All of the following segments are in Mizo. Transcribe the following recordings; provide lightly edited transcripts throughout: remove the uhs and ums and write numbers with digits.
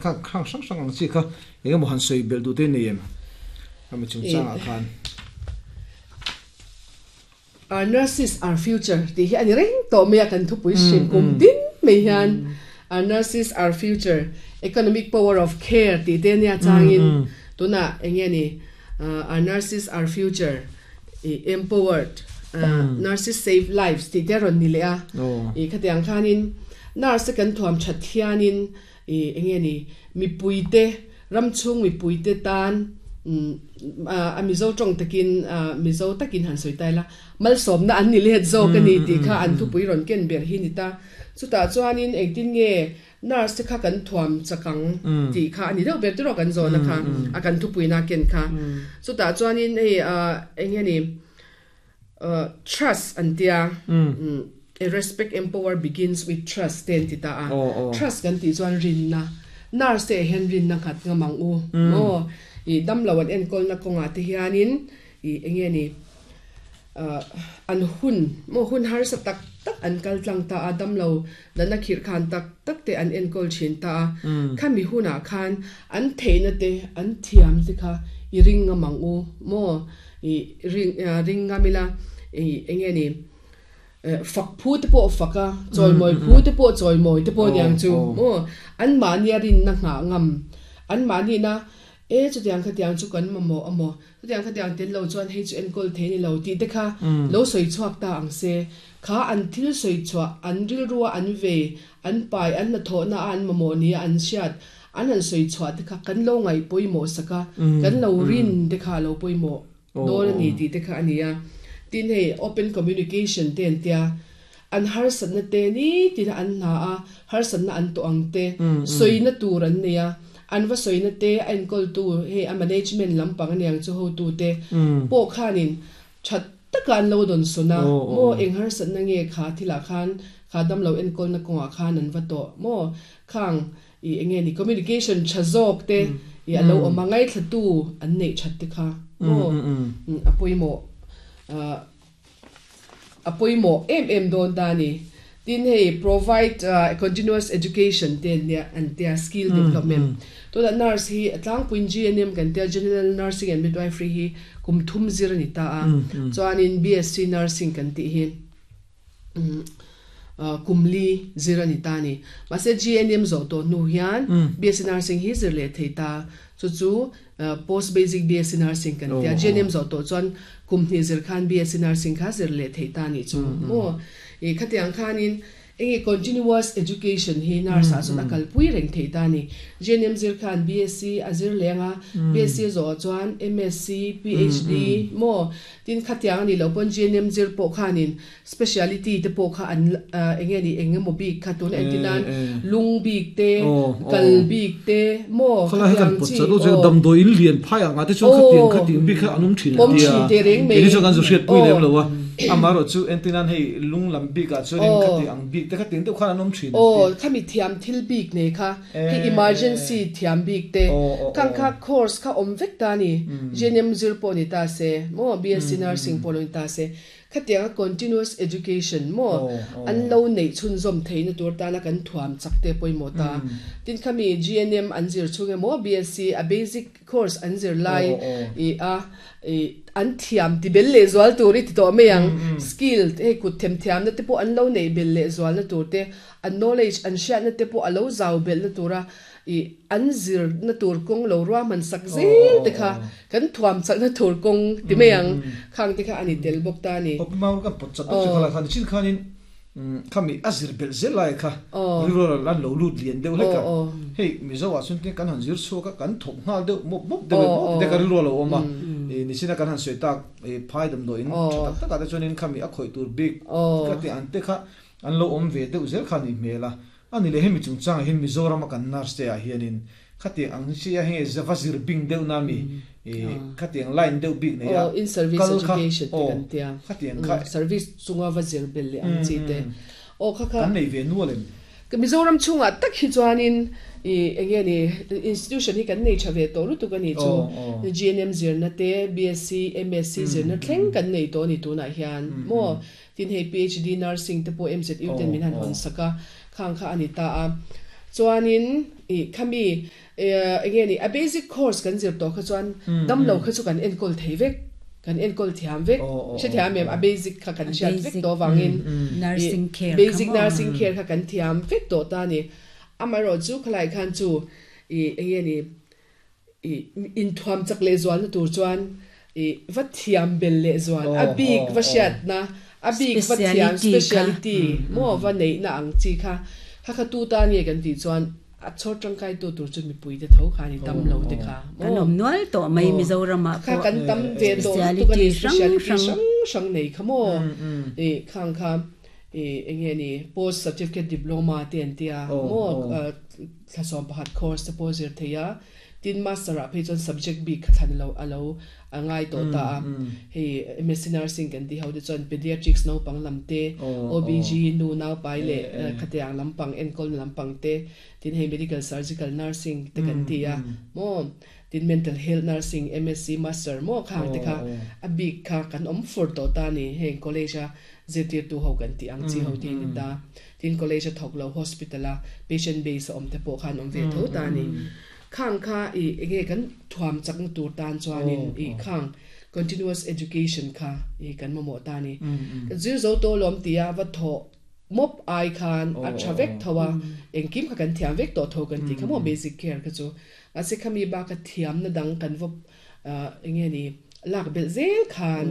kha hrang hrang hrang ang chi kha eng emaw han sawi belh duh te nei em khami chungchangah khan. Our nurses our future tih hi a ni reng tawh mai a kan thupui hrim kum tin mai hian our nurses our future economic power of care tih te nia changin tunah eng nge ni our nurses our future ih empowered nurses save lives tih te a rawn ni leh a ih khatiang khanin nurse te kan thuam that hianin Ih eng nge ni mipuite ram chhung mipuite tan a Mizo tawng takin Mizo takin han sawi ta ila malsawmna an ni let zawk a ni tih kha an thupui rawn ken ber hi ni ta. Chutah chuanin engtin nge nurse te kha kan thuam chak ang tih kha a ni deuh ber tiraw kan zawhna kha a kan thupuina ken kha. Chutah chuanin hei eng nge ni Trust an tia, respect empower begins with trust te an ti ta a, trust kan tih chuan rinna, nurse te ah hian rinna nghat ngam ang u maw, ih damlo an enkawlna kawngah te hianin ih eng nge ni an hun maw hun harsa tak tak an kal tlang ta a, damlo natna khirh khan tak tak te an enkawl thin ta a, khami hunah khan an theihna te an thiam te kha i ring ngam ang u maw. I ring ring ngam ila i eng nge ni fak phu te pawh fak a, chawimawi phu te pawh chawimawi te pawh aniang chu maw an mahnia rinna nghah ngam an mahnina e chutiang khatiang chu kan mamawh a maw chutiang khatiang tel lo chuan hei chu enkawl thei ni lo tih te kha lo sawi chhuak ta ang se kha an thil sawi chhuah an rilrua an vei an pai an hnathawhna a an mamawh nia an hriat An han sawi chhuah te kha kan lo ngaih pawimawh sak a, kan lo rin te kha a lo pawimawh dawn a ni tih te kha a ni a. Tin hei open communication te an tia, an harsatna te nitin a an hna a, harsatna an tawh ang te sawina tur an nei a, an va sawina te a enkawltu hei a management lampang aniang chu hotu te pawh khanin That taka an lo dawn sawn a, maw eng harsatna nge kha thilah khan kha damlo enkawlna kawngah khan an va tawh maw? Khang i eng nge ni communication tha zawk te i a lo awm a, ngaithlatu an neih that te kha maw a pawimawh a pawimawh em em dawn ta a ni. Tin hei provide continuous education te an nia an tia skill development tunah nurse hi a tlangpuiin GNM kan tia General Nursing and Midwifery hi kum thum zir a ni ta a chuanin BSc Nursing kan tih hi kum li zir a ni ta a ni mahse GNM zawh tawh hnu hian BSc Nursing hi zir leh thei ta chu chu post basic BSc Nursing kan tia GNM zawh tawh chuan kum hnih zir khan BSc Nursing kha zir leh thei ta a nih chu maw. I khatiang khanin enge continuous education hi nurse ah chuan a kalpui reng thei ta a ni. GNM zir khan BSc a zir leng a, BSc a zawh ah chuan MSc, PhD maw tin khatiang a nih loh pawn GNM zir pawh khanin speciality te pawh kha an enge ni eng emaw bik kha tuna entir nan lung bik te, kal bik te maw khatiang chi aw. Damdawi in lian phai ang ah te chuan khatiang khatiang bik kha an awm thin an tia, kei ni chuan kan zu hriatpui lem lo a. Amaherawh chu entirnan hei lung lam bik ah chuanin khati ang bik te khatiang deuh khan an awm thin an ti. Aw, khami thiam thil bik nei kha, hei emergency thiam bik te, khang kha course kha awm vek ta a ni, GNM zir pawh ni ta se maw, BSc Nursing pawh lo ni ta se, khatianga continuous education maw an lo neih chhunzawm theihna tur tana kan thuam chak te pawimawh ta. Tin khami GNM an zir chhung emaw BSc a basic course an zir lai i a i an thiam ti bel leh zual tur i ti tawh mai ang. Skill hei kut them thiamna te pawh an lo neih bel leh zualna tur te, an knowledge an hriatna te pawh a lo zau belhna tura i an zirna tur kawng lo ruahman sak zel te kha kan thuam chakna tur kawng ti mai ang. Khang te kha a ni tel bawk ta a ni. Awp mau kan pawt chat bawk chu kha lai khan chin khanin Khami a zir belh zel lai kha rilru an lo lut lian deuh hlek a, hei Mizo ah chuan kan han zir chhuak a, kan thawk nghal deuh mawp mawp deuh em mawp te ka rilru a lo awm a, nichina kan han sawi tak phai damdawiin tha tak takah te chuanin khami a khawih tur bik ka tih ang te kha an lo awm ve deuh zel kha a nih hmel a, a ni leh hemi chungchangah hian Mizorama kan nurse te ah hianin Khatiang ang chi a hei va zir bing deuh na mi khatiang line deuh bik nei a Aw in service kal kha education te aw kan tia khatiang kha service chunga va zir bel leh ang chi te aw kha kha kan nei ve nual em? Ka Mizoram chhungah tak hi chuanin i enge ni institution hi kan nei tha ve tawh lutuk a ni chu GNM zirna te BSc MSc zirna thleng kan nei tawh a ni tunah hian maw tin hei PhD nursing te pawh MZU ten min han hawn sak a khang kha a ni ta a chuanin. I khami enge ni a basic course kan zir tawh kha chuan damlo kha chu kan enkawl thei vek kan enkawl thiam vek hrethiam em a basic kha kan hriat vek tawh avangin basic nursing care kha kan thiam vek tawh ta a ni. Amaherawhchu khalai khan chu i enge ni i inthuam chak leh zualna tur chuan i va thiam bel leh zual a bik va hriatna a bik va thiam speciality maw va neihna ang chi kha kha kha tu tan nge kan tih chuan a chhawr tangkai tu tur chu mipui te tho kha a ni tam lo te kha maw. Kan awm nual tawh mai Mizoramah pawh kha kan tam ve tawh lutuk a ni speciality hrang hrang nei kha maw i khang kha i eng nge ni post certificate diploma te an tia maw thla 11 course te pawh zir thei a, tin master ah phei chuan subject bik kha thlan lo a lo a ngai tawh ta a, hei MSc Nursing kan tih ho te chuan pediatrics naupang lam te, OBG nu naupai leh khatiang lampang enkawlna lampang te, tin hei medical surgical nursing te kan ti a maw, tin mental health nursing MSc master maw khang te kha a bik kha kan awm fur tawh ta a ni, heng college a zirtirtu ho kan tih ang chi ho te hi ni ta. Tin college a thawk lo hospital a patient base a awm te pawh khan awm ve tho ta a ni. Khang kha i enge kan thuam chakna tur tan chuanin i khang continuous education kha i kan mamawh ta a ni. Kan zir zo tawh lawm tia va thawh mawp ai khan a tha vek tho a, engkim kha kan thiam vek tawh tho kan tih kha maw basic care kha chu. Mahse khami baka thiamna dang kan va enge ni lak belh zel khan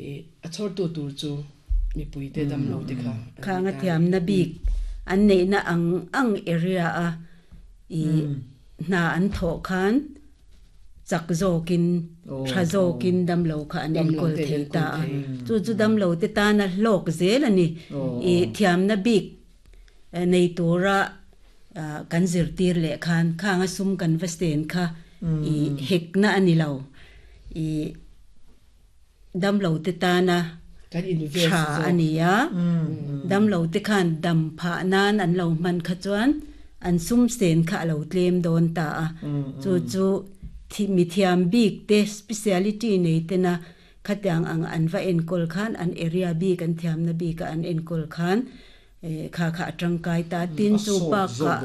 i a chhawrtu tur chu mipui te dam lo te kha an Khang a thiamna bik an neihna ang ang area a i hna an thawh khan chak zawkin tha zawkin damlo kha an enkawl thei ta a, chu chu damlo te tana hlawk zel a ni. I thiamna bik nei tura kan zirtir leh khan khang a sum kan va sten kha i hekna a ni lo. I damlo te tana tha a ni a, damlo te khan dam phah nan an lo hman kha chuan an sum sen kha a lo tlem dawn ta a. Chu chu mithiam bik te speciality nei tena Khatiang ang an va enkawl khan an area bik an thiamna bika an enkawl khan kha kha a tangkai ta. Tin chu bakah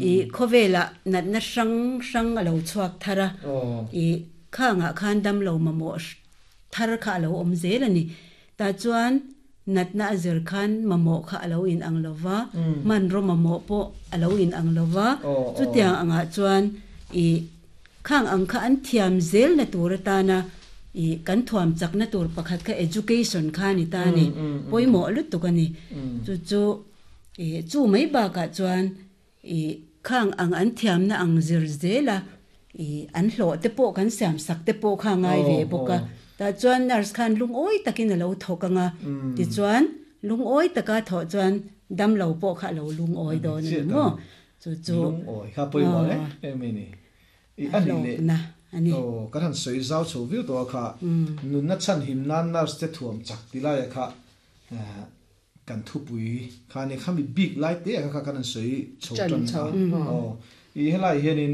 i khawvelah natna hrang hrang a lo chhuak thar a, i khangah khan damlo mamawh thar kha a lo awm zel a ni. Tah chuan natna a zir khan mamawh kha a lo inang lo va, hmanraw mamawh pawh a lo inang lo va, chutiang angah chuan i khang ang kha an thiam zelna tur atana i kan thuam chakna tur pakhat kha education kha a ni ta a ni, pawimawh lutuk a ni. Chu chu i chu mai bakah chuan I khang ang an thiamna ang zir zela i an hlawh te pawh kan siam sak te pawh kha ngai ve bawk a. Tah chuan nurse khan lungawi takin a lo thawk ang a, tichuan lungawi taka thawh chuan damlo pawh kha a lo lungawi dawn a ni maw? Chu chu Lungawi kha pawimawh em em a ni. I a nih leh hlawkna a ni. Aw kan han sawi zau chho viau tawh a kha nunna chhanhim nan nurse te thuam chak ti laia kha Kan thupui kha nia khami bik lai te kha kha kan an sawi chho tan a aw i helai hianin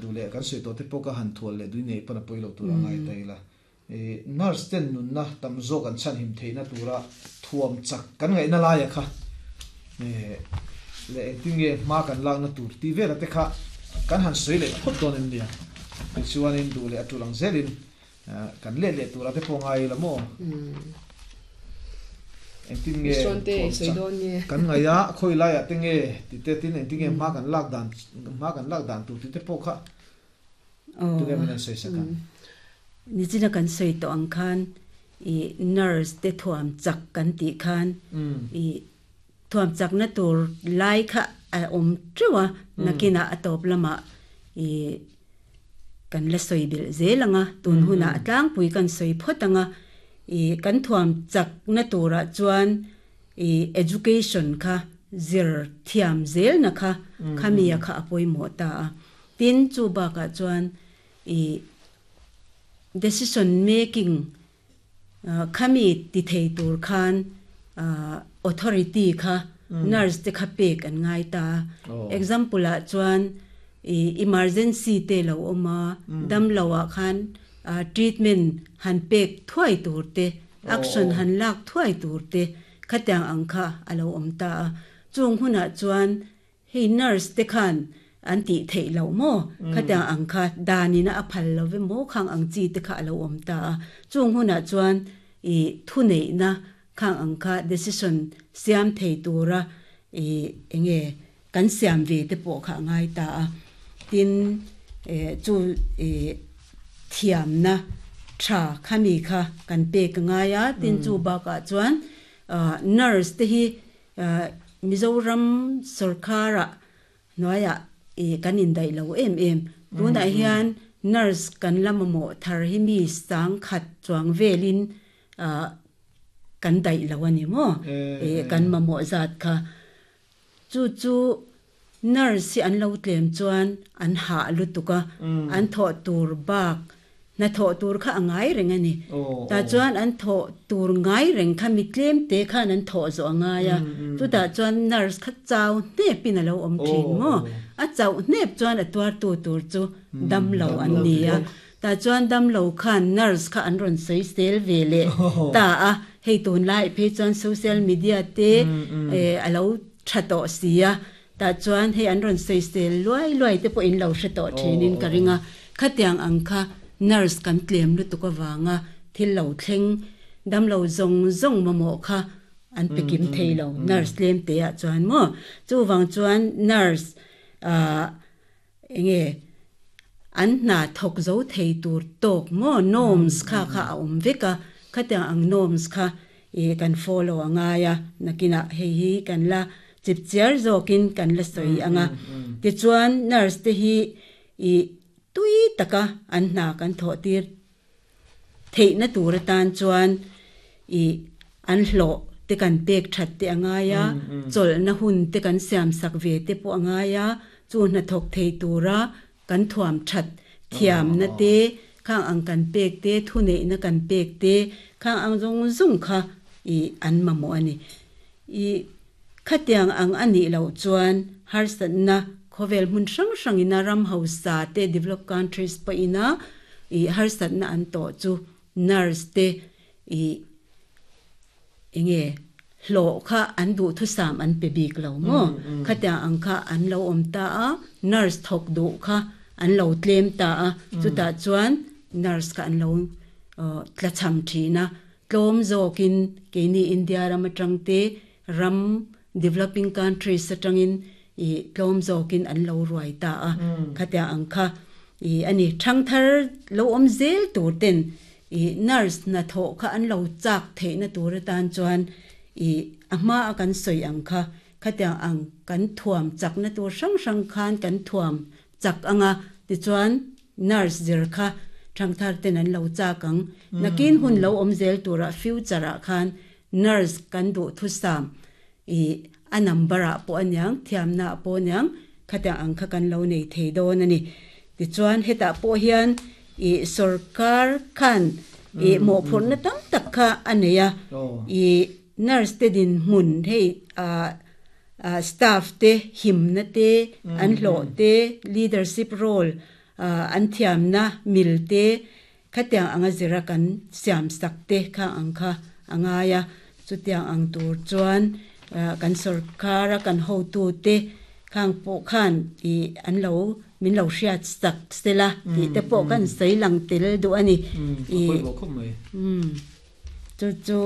duh leh kan sawi tawh te pawh ka han thual leh dui nei pawn a pawi lo tur a ngai ta ila i nurse ten nunna tam zawk an chhanhim theihna tura thuam chak kan ngaihna laia kha leh engtin nge hma kan lakna tur tih vela te kha kan han sawi leh phawt dawn em nia tichuanin duh leh a tul ang zelin Kan let leh tura te pawh ngai ila maw? Engtin nge thuam chak kan ngaih a, khawi laiah te nge ti te tin engtin nge hma kan lak dan hma kan lak dan tur tih te pawh kha tunge min an sawi sak ang. Nichina kan sawi tawh ang khan i nurse te thuam chak kan tih khan i thuam chakna tur lai kha a awm teuh a, nakinah a tawp lamah i Kan la sawi belh zel ang a, tun hunah a tlangpui kan sawi phawt ang a, ih kan thuam chakna turah chuan ih education kha zir thiam zelna kha khamia kha a pawimawh ta a. Tin, chu bakah chuan ih decision making Khami ti thei tur khan authority kha nurse te kha pek an ngai ta a. Example ah chuan i emergency te lo awm a, damlo ah khan treatment han pek thuai tur te, action han lak thuai tur te khatiang ang kha a lo awm ta a. Chung hunah chuan. Hei nurse te khan an tih theih loh maw? Khatiang ang kha danin a phal lo ve maw khang ang chi te kha a lo awm ta a. Chung hunah chuan i thuneihna khang ang kha decision siam thei tura i enge kan siam ve te pawh kha a ngai ta a. Tin, chu i thiamna tha khami kha kan pek a ngai a. Tin, chu bakah chuan nurse te hi Mizoram sorkara hnuaiah i kan indaih lo em em. Tunah hian nurse kan la mamawh thar hi mi sangkhat chuang velin kan daih lo a ni maw? I kan mamawh zat kha. Chu chu nurse hi an lo tlem chuan an hah lutuk a, an thawh tur bak hna thawh tur kha a ngai reng a ni. Tah chuan an thawh tur ngai reng kha mi tlem te khan an thawh zawh a ngai a, chutah chuan nurse kha chau hnepin a lo awm thin maw? A chauh hnep chuan a tuartu tur chu damlo an ni a, tah chuan damlo khan nurse kha an rawn sawi sel ve leh ta a, hei tunlai phei chuan social media te a lo tha tawh si a, Tah chuan hei an rawn sawisel luai luai te pawh in lo hre tawh thinin ka ring a, khatiang ang kha nurse kan tlem lutuk avanga thil lo thleng damlo zawng zawng mamawh kha an pe kim thei lo nurse tlem te ah chuan maw. Chuvang chuan nurse ah enge an hna thawk zo thei tur tawk maw norms kha kha a awm vek a, khatiang ang norms kha I kan follow a ngai a, nakinah hei hi kan la chip chiar zawkin kan la sawi ang a. Tichuan nurse te hi i tui taka an hna kan thawh tir theihna tur atan chuan i an hlawh te kan pek that te a ngai a, chawlhna hun te kan siam sak ve te pawh a ngai a, chu hnathawk thei tura Kan thuam that thiamna te, khang ang kan pek te, thuneihna kan pek te, khang ang zawng zawng kha i an mamawh a ni. I khatiang ang a nih loh chuan harsatna khawvel hmun hrang hrangina ram hausa te, developed countries pawhina i harsatna an tawh chu nurse te I enge hlawh kha an duhthusam an pe bik lo maw? Khatiang ang kha an lo awm ta a, nurse thawk duh kha an lo tlem ta a, chutah chuan nurse kha an lo tlachham thin a, tlawm zawkin keini India ram atang te ram developing countries atangin i tlawm zawkin an lo ruai ta a, khatiang ang kha i a ni. Thangthar lo awm zel tur ten i nurse hnathawh kha an lo chak theihna tur atan chuan i a hma a kan sawi ang kha khatiang ang kan thuam chakna tur hrang hrang khan kan thuam chak ang a, tichuan nurse zir kha thangthar ten an lo chak ang. Nakin hun lo awm zel turah future ah khan nurse kan duh thusam i a number ah pawh aniang, thiamna ah pawh aniang khatiang ang kha kan lo nei thei dawn a ni. Tichuan hetah pawh hian i sorkar khan i mawhphurhna tam tak kha a nei a, i nurse te dinhmun hei ah staff te himna te, an hlawh te, leadership role an thiamna mil te Khatiang anga zira kan siam sak te kha ang kha a ngai a, chutiang ang tur chuan kan sorkara kan hotute khang pawh khan ih an lo min lo hriat sak sela tih te pawh kan sawi lang tel duh a ni. Ih chu chu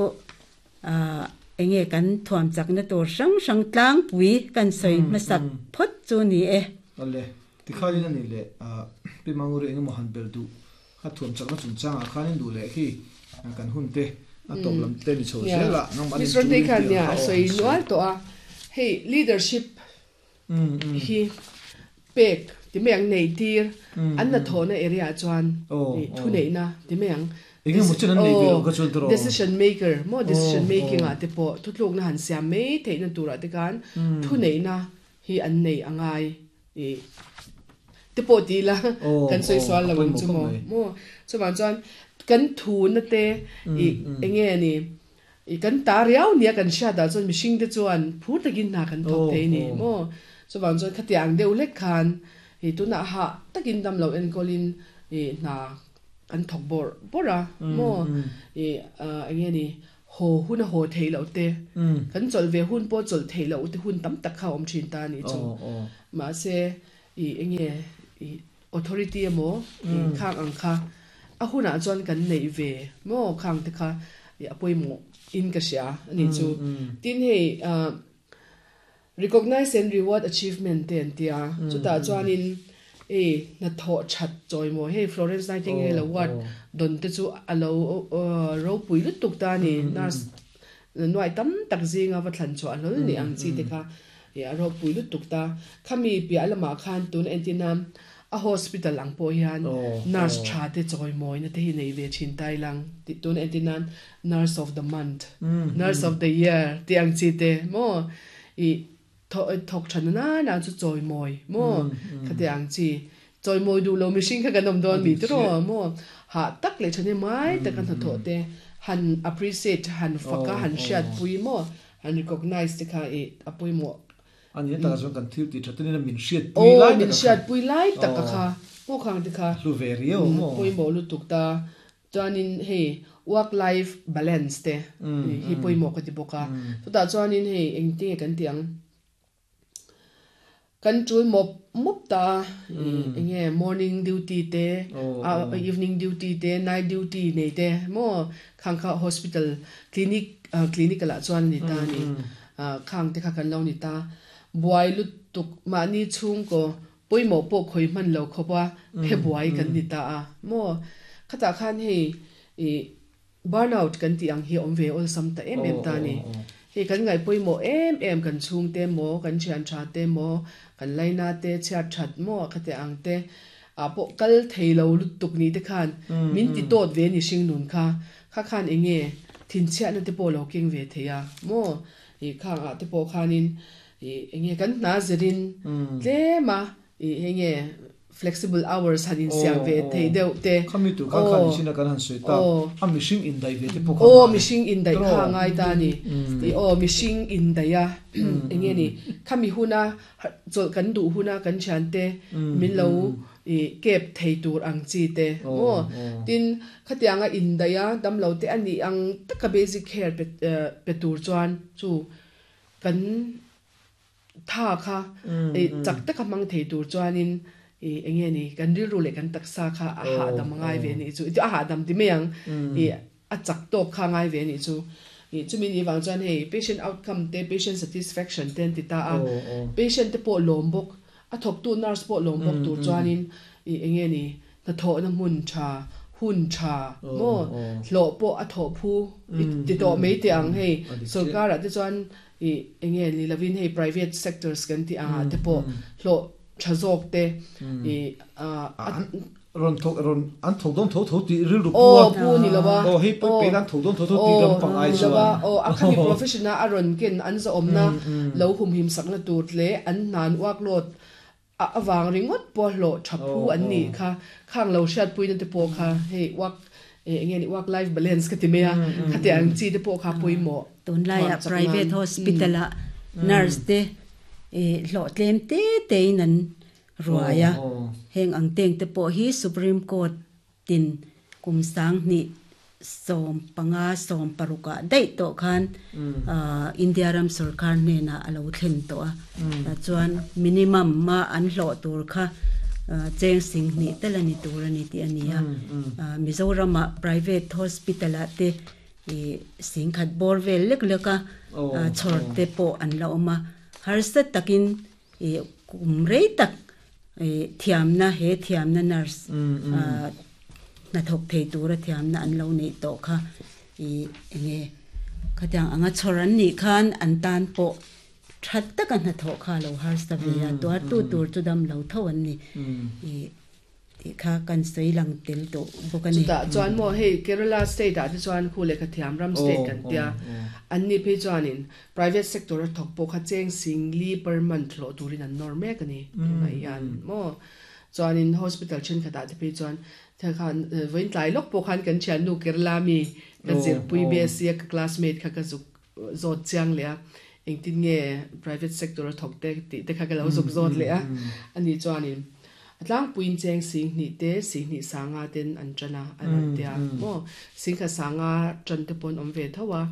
enge kan thuam chakna tur hrang hrang tlangpui kan sawi hmasak phawt chu ni e. Awle, tikhalin a nih leh Pi Manguri engemaw han belh duh kha thuam chakna chungchangah khanin duh leh khi kan hun te a tawp lam te ni chho zel a, nangmah nin Miss Rondei khan nia a sawi nual tawh a, hei leadership hi pek ti mai ang nei tir an hnathawhna area ah chuan thuneihna ti mai ang decision maker maw decision making ah te pawh thutlukna han siam mai theihna turah te khan thuneihna hi an nei a ngai te pawh ti ila kan sawi sual lo ang chu maw maw chuvang chuan kan thuna te ih enge ni I kan ta riau nia kan hriat ah chuan mihring te chuan phur takin hna kan thawk thei ni maw? Chuvang chuan khatiang ang deuh hlek khan i tunah hah takin dam lo enkawl in i hna kan thawk bawrh bawrh a maw? I eng nge ni? Haw hun a haw theih loh te, kan chawlh ve hun pawh chawlh theih loh te hun tam tak kha a awm thin ta a nih chu. Mahse, ih enge ih authority emaw ih khang ang kha a hunah chuan kan neih ve maw khang te kha ih a pawimawh in ka hria a nih chu. Tin hei ah Recognize and reward achievement te an ti a, chutah chuanin hei hnathawh that chawimaw hei Florence Nightingale Award dawn te chu a lo ropui lutuk ta a ni, nurse nuai tam tak zinga va thlan chhuah hlawl ni ang chi te kha a ropui lutuk ta. Khami piah lamah khan tuna entina a hospital ang pawh hian nurse tha te chawimawina te hi nei ve thin ta ilang tih tuna entina nurse of the month, nurse of the year tih ang chi te maw I thawk tha na na chu chawimawi maw khati ang chi chawimawi duh lo mihring kha kan awm dawn mi tiraw maw hah tak leh thahnem ngai taka hnathawh te han appreciate han fak a han hriatpui maw han recognize te kha i a pawimawh. A ni takah chuan kan thil tih tha ten in min hriatpui lai tak a kha. Aw min hriatpui lai tak a kha maw khang te kha hlu ve riau maw. Pawimawh lutuk ta Chuanin hei work life balance te hi pawimawh ka ti bawk a. Chutah chuanin hei engtinge kan tih ang? Kan tul mawp mawp ta a, enge morning duty te, evening duty te, night duty nei te maw khang kha hospital clinic clinic ah chuan a ni ta a ni. Khang te kha kan lo ni ta. Buai lutuk mahni chhungkaw Pawimawh pawh khawi hman lo khawp a, phe buai kan ni ta a maw? Khatah khan hei ih burnout kan tih ang hi a awm ve awlsam ta em em ta a ni. Hei kan ngaih pawimawh em em kan chhungte maw, kan thian tha te maw, kan laina te, chhiat that maw khate ang te ah pawh kal thei lo lutuk ni te khan min ti tawt ve ni hring nun kha. Kha khan eng nge thinchhiatna te pawh lo keng ve thei a maw? Ih khang ah te pawh khanin Ih enge kan hna zirin tlem a ih enge flexible hours han insiam ve thei deuh te. Khami tur khan khan nichin a kan han sawi ta a mihring indaih ve te pawh kha ngai. Aw mihring indaih kha a ngai ta a ni. Ih aw mihring indaih a enge ni khami huna chawlh kan duh huna kan thiante min lo ih kep thei tur ang chi te maw. Tin khatianga indaih a damlo te a nih ang taka basic care pe tur chuan chu Kan tha kha chak taka hmang thei tur chuanin eng nge ni kan rilru leh kan taksa kha a hahdam a ngai ve anih chu a hahdam ti mai ang ih a chak tawk kha a ngai ve anih chu ih chumi nih vang chuan hei patient outcome te patient satisfaction te an ti ta a patient te pawh lawm bawk a thawktu nurse pawh lawm bawk tur chuanin ih eng nge ni Hnathawhna hmun tha, hun tha maw? Hlawh pawh a thawh phu i ti tawh mai teh ang hei. Sorkarah te chuan i eng nge ni lovin hei private sectors kan tih angah te pawh hlawh tha zawk te i a Rawn thawk rawn an thawk dawn tho tho tih rilru pu a. Aw pu ni lo a. Aw hei pawi pawi an thawk dawn tho tho tih lampang ai chuan. Aw a khami profession a a rawn ken an zahawmna lo humhim sakna tur leh an hnan uaklawt A avang ringawt pawh hlawh tha phu an nih kha, khang lo hriatpuina te pawh kha hei work eh eng nge ni work life balance ka ti mai a, khati ang chi te pawh kha pawimawh Tunlaiah thuam chak private nan. hospital ah nurse te eh hlawh tlem te te in an ruai a, heng ang teng te pawh hi Supreme Court Tin, kum 2015 16 ah daih tawh khan India ram sorkar hnenah a lo thlen tawh a. Chuan minimum a an hlawh tur kha cheng 20 tal a ni tur a ni tih a ni a. Mizoramah private hospital ah te 10,000 bawr vel lek lek a chhawr te pawh an la awm a. Harsa takin kum rei tak Thiamna, he thiamna nurse hnathawk thei tura thiamna an lo neih tawh kha i enge khatiang anga chhawr an nih khan an tan pawh that taka hnathawh kha a lo harsa ve a, tuartu tur chu dam lo tho an ni i tih kha kan sawi lang tel tawh bawk a ni. Chutah chuan maw hei Kerala state ah te chuan khu lehkha thiam ram state kan tia an ni phei chuanin Private sector a thawk pawh kha cheng 40 per month hlawh turin an nawr mek a ni tunah hian maw. Chuanin hospital thenkhatah te phei chuan thil khan vawiin tlai lawk pawh khan kan thiannu Kerala mi ka zirpui BSc a ka classmate kha ka zuk zawt chiang leh a, engtin nge private sector a thawk te tih te kha ka lo zuk zawt leh a, ani chuanin. A tlangpuiin cheng 2000 te 20 sanga ten an tan a an rawn tia maw 10,000 sanga tan te pawh an awm ve tho a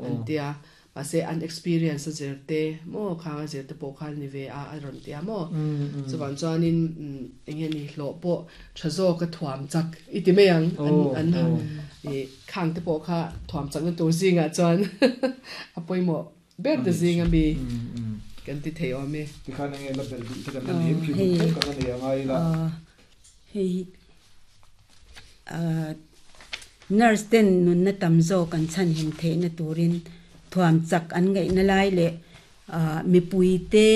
an tia mahse an experience a zir te maw khang a zir te pawh khan ni ve a a rawn tia maw chuvang chuanin eng nge ni hlawh pawh tha zawk a thuam chak i ti mai ang an an ih khang te pawh kha thuam chakna tur zingah chuan a pawimawh ber te zing a mi kan ti thei awm e. Tikhan enge la belh duh te kan la nei em khi duh theuh kan la nei a ngai ila. Hei nurse ten nunna tam zawk an chhanhim theihna turin thuam chak an ngaihna lai leh mipui te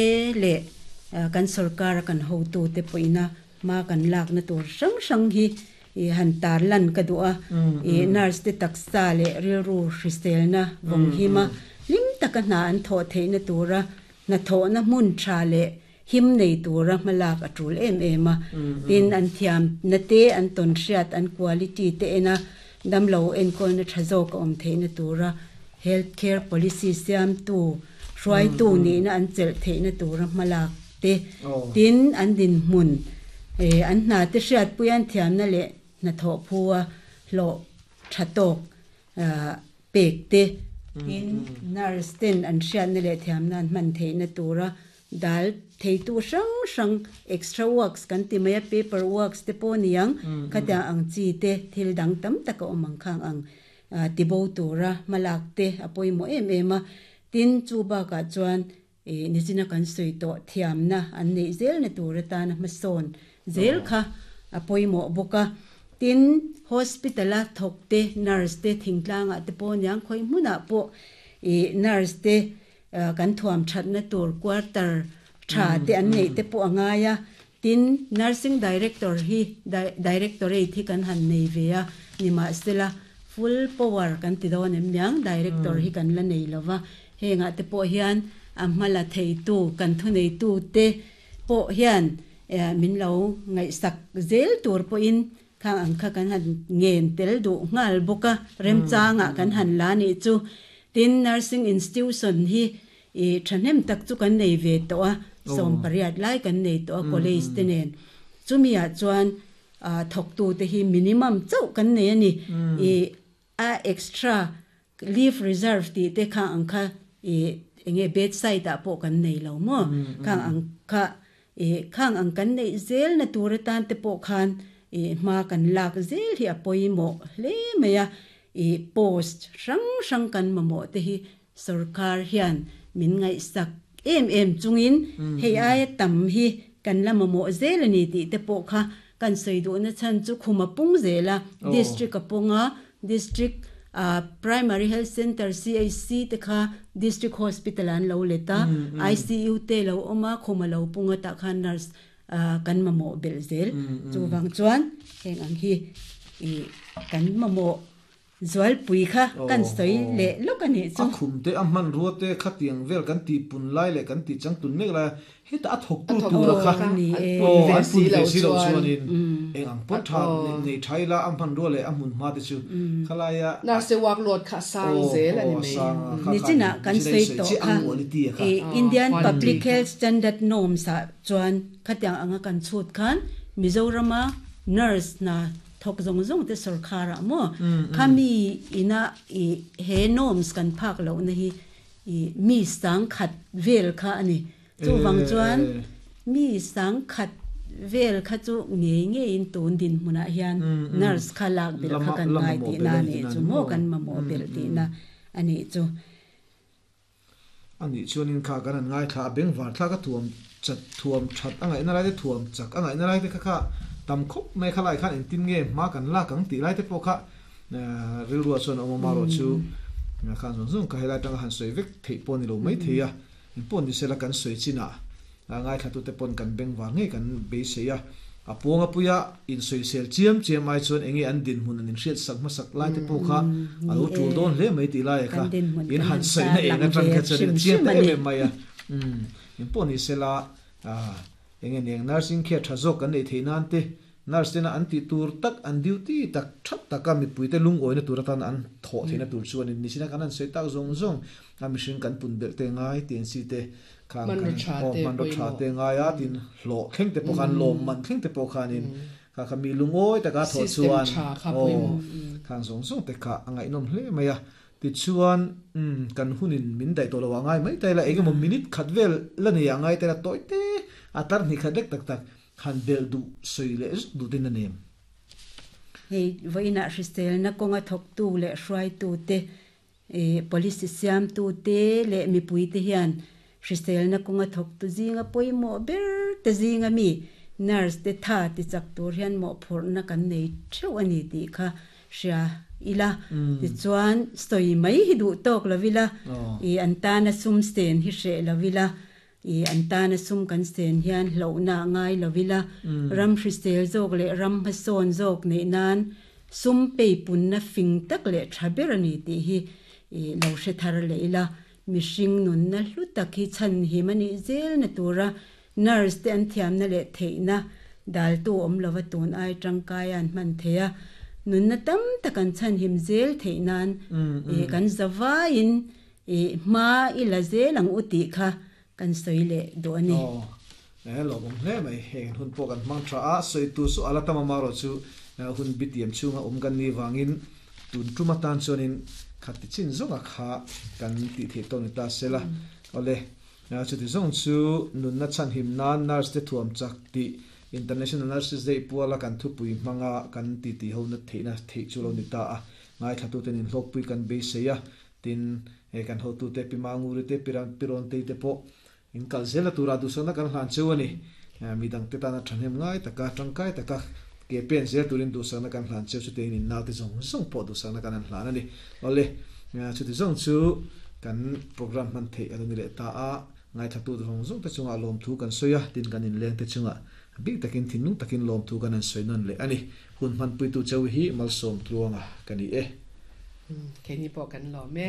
leh kan sorkar a kan hotu te pawhina hma kan lakna tur hrang hrang hi I han tar lan ka duh a, i nurse te taksa leh rilru hriselna vawng him a, hlim taka hna an thawh theihna tura hnathawhna hmun tha leh him nei tura hmalak a tul em em a. Tin, an thiamna te, an tawnhriat, an quality te ena damlo enkawlna tha zawk a awm theihna tura health care policy siamtu, hruaitu nihna an chelh theihna tura hmalak te, tin, an dinhmun, an hna te hriatpui an thiamna leh hnathawh phua hlawh tha tawk pek te, tin, nurse ten an hriatna leh thiamna an hman theihna tura dal theitu hrang hrang extra works kan ti mai a, paper works te pawh niang, khatiang ang chi te thil dang tam tak a awm ang khang ang tibo tura hmalak te a pawimawh em em a, tin, chu bakah chuan I nichina kan sawi tawh thiamna an neih zelna tur atana hmasawn zel kha a pawimawh bawk a. Tin, hospital-a thawk te, nurse te, thingtlangah te pawh aniang khawi hmunah pawh i nurse te kan thuam thatna tur quarter tha te an neih te pawh a ngai a. Tin, nursing director hi directorate hi kan han nei ve a, nimahsela full power kan ti dawn em niang, director hi kan la nei lo va. Hengah te pawh hian a hmala theitu kan thuneitu te pawh hian min lo ngaihsak zel tur pawhin khang ang kha kan han ngen tel duh nghal bawk a, remchangah kan han la nih chu. Tin, nursing institution hi thahnem tak chu kan nei ve tawh a, 18 lai kan nei tawh a college te nen. Chumiah chuan thawktute hi minimum chauh kan nei a ni. A extra leave reserve tih te khang ang kha i enge bed side ah pawh kan nei lo maw? Khang ang kha i khang ang kan neih zel na tur atan te pawh khan i hma kan lak zel hi a pawimawh hle mai a, i post hrang hrang kan mamawh te hi sorkar hian min ngaihsak em em chungin hei aia tam hi kan la mamawh zel a ni tih te pawh kha kan sawi duhna chhan chu khum a pung zel a, district a pawng a, district primary health centre CHC te kha district hospital ah an lo let a, ICU te lo awm a, khum a lo pung a tah khan nurse kan mamawh belh zel. Chuvang chuan heng ang hi kan mamawh Zualpui kha kan sawi leh lawk a nih chu. A khum te, a hmanrua te khatiang vel kan tih pun lai leh kan tih chang tun mek lai a, hetah a thawktu tura kha aw an pun ve si loh chuanin eng ang pawh tha nei tha ila a hmanrua leh a hmun hma te chu khalaia Nurse workload kha a sang zel a ni mai. Nichinah kan sawi tawh kha Indian Public Health Standard Norms ah chuan khatiang anga kan chhut khan Mizorama nurse hna Thawk zawng zawng te sorkar ah maw khami ina i he norms kan phak lohna hi i mi sangkhat vel kha a ni. Chuvang chuan mi sangkhat vel kha chu ngei ngeiin tun dinhmunah hian nurse kha lak belh kha kan ngai tihna a nih chu maw kan mamawh belh tihna a nih chu. A nih chuanin kha kan han ngaithla a, bengvar thlak a thuam chat thuam that a ngaihna lai te thuam chak a ngaihna lai te kha kha tam khawp mai kha lai khan engtin nge hma kan lak ang tih lai te pawh kha rilruah chuan a awm a marawh chu khan zawng zawng kha helai atanga han sawi vek theih pawh a ni lo mai thei a, engpawh ni sela kan sawi chinah Ngaithlatute pawn kan bengvar ngei kan beisei a, a puang a puia insawisel chiam chiam ai chuan enge an dinhmun an inhriat sak hmasak lai te pawh kha a lo tul dawn hle mai tih lai kha in han sawina eng atang kha chuan a chiang ta em em mai a. Engpawh ni sela enge niang nursing care tha zawk kan neih theih nan te nurse tena an tih tur tak an duty tak tha taka mipuite lungawina tur atan an thawh theihna tur chuan in nisina kan han sawi tak zawng zawng a mihring kan pun belh te ngai tih an si te. Khang Hmanraw kan tha aw te hmanraw tha pawimawh. te ngai a tin hlawh thleng te pawh khan lawmman thleng te pawh khanin kha kha mi lungawi taka thawh System chuan tha kha aw pawimawh. khang zawng zawng te kha a ngaihnawm hle mai a. Tichuan umm kan hunin min daih tawh lo a ngai mai ta ila engemaw minute khat vel la nei a ngai ta ila tawi te a tar hnih khat lek tak tak han belh duh sawi leh zuk duh ten a nem. Hei vawiinah hriselna kawnga thawktu leh hruaitute Policy siamtute leh mipuite hian hriselna kawnga thawktu zinga pawimawh ber te zinga mi nurse te tha tichak tur hian mawhphurhna kan nei theuh a ni tih kha hria ila. Tichuan, sawi mai hi duh tawk lo ila, an tana sum sen hi hreh lo ila, an tana sum kan sen hian hlauhna a ngai lo ila, ram hrisel zawk leh ram hmasawn zawk neih nan Sum peipunna fing tak leh tha ber a ni tih hi lo hre thar leh ila, mihring nunna hlu tak hi chhanhim a nih zelna tura nurse te an thiamna leh theihna daltu awm lova tun ai tangkai an hman thei a, nunna tam tak an chhanhim zel theih nan kan zavaiin hma i la zel ang u tih kha kan sawi leh duh a ni. Aw, e lawmawm hle mai. Heng hun pawh kan hmang tha a, sawi tur chu a la tam amarawh chu hun bitiam chhunga awm kan nih vangin tun tum atan chuanin khati chin zawnga kha kan tih theih tawh ni ta sela. Awle, chuti zawng chu nunna chhanhim nan nurse te thuam chak tih International Nurses Day puala kan thupui hmanga kan titi ho na theihna theih chu lo ni ta a, ngaithlatuten inhlawkpui kan beisei a. Tin, hei kan hotute Pi Manguri te, Pi Pi Rawntei te pawh in kal zel a tura duhsakna kan hlan cheu a ni. Midangte tana thahnem ngai taka, tangkai taka ke pen zel turin duhsakna kan hlan cheu chutiangin in naute zawng zawng pawh duhsakna kan han hlan a ni. Awle, chuti zawng chu kan program hman theih a lo ni leh ta a, ngaithlatute zawng zawng te chungah lawmthu kan sawi a, tin kan inlengte chungah bik takin thinlung takin lawmthu kan han sawi nawn leh a ni. Hun hmanpuitu cheu hi malsawm tluanga ka ni e. Keini pawh kan lawm e.